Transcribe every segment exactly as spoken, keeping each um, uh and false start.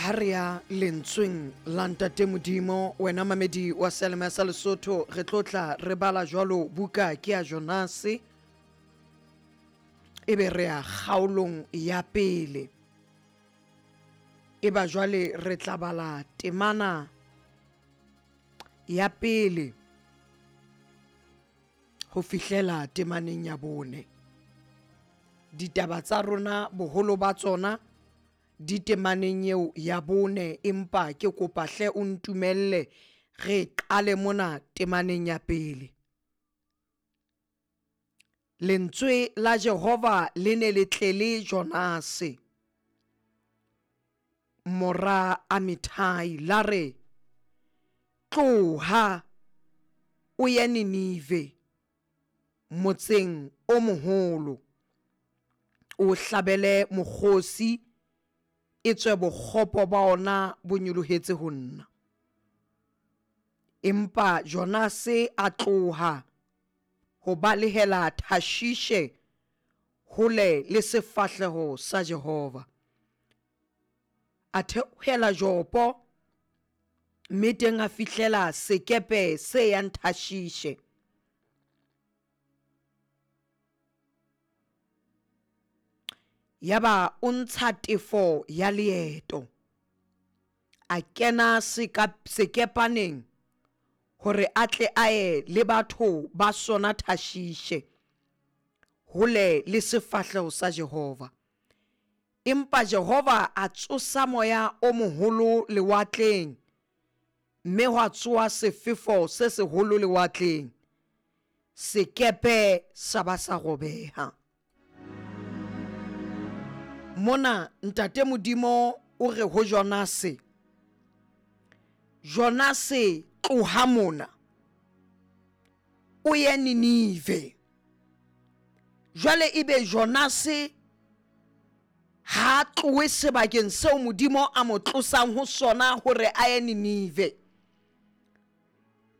Ha re ya lentsweng la Ntate Modimo, wena mamedi wa Seyalemoya sa Lesotho, re tlo tla re bala jwalo buka ke ya Jonase, ebe re ya kgaolong ya pele. Eba jwale re tla bala temana ya pele ho fihlela temaneng ya bone. Ditaba tsa rona boholo ba tsona di temaneng eo ya bone, empa ke kopa hle o ntumelle re qale mona temaneng ya pele. Lentswe la Jehova le ne le tlele Jonase mora Amithai, la re, tloha o ye Ninive, motseng o moholo, o hlabele mokgosi, etswe bokgopo ba ona bo nyolohetse ho nna. Empa Jonase a tloha ho balehela Tarshishe hole le sefahleho sa Jehova. A theohela Jopo, mme teng a fihlela sekepe se yang Tarshishe. Yaba o ntsha tefo ya leeto, a kena sekepaneng hore a tle a ye le batho ba sona Tarshishe, hole le sefahleho sa Jehova. Empa Jehova a tsosa moya o moholo lewatleng, mme hwa tsoha sefefo se seholo lewatleng, sekepe sa ba sa robeha. Mona Ntate Modimo o re ho Jonase, Jonase tloha mona o ye Ninive. Jwale ebe Jonase ha tlohe sebakeng seo Modimo a mo tlosang ho sona hore a ye Ninive.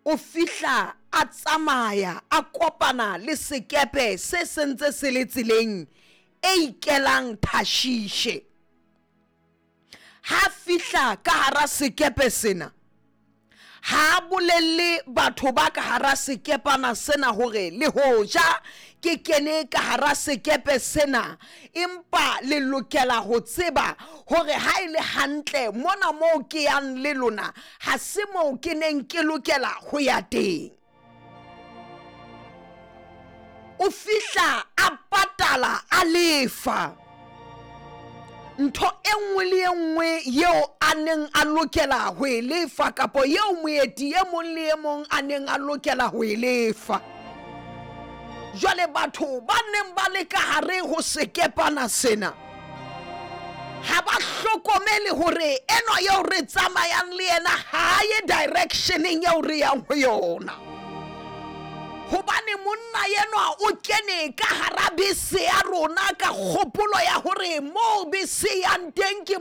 O fihla a tsamaya a kopana le sekepe se sentse se le tseleng e ikelang Tarshishe. Ha fihla ka hara sekepe sena, ha bolelle batho ba ka hara sekepana sena hore le hoja ke kene ka hara sekepe sena, empa le lokela ho tseba hore ha e le hantle mona moo ke yang le lona ha se moo ke neng ke lokela ho ya teng. O fihla a patala a lefa ntho e nngwe le e nngwe yeo a neng a lokela ho e lefa, kapa yeo moeti e mong le e mong a neng a lokela ho e lefa. Jwale batho ba neng ba le ka hare ho sekepana sena ha ba hlokomele hore enwa eo re tsamayang le yena ha ye directioneng eo re yang ho yona. Hobane monna enwa o kene ka hara bese ya rona ka kgopolo ya hore moo bese yang teng ke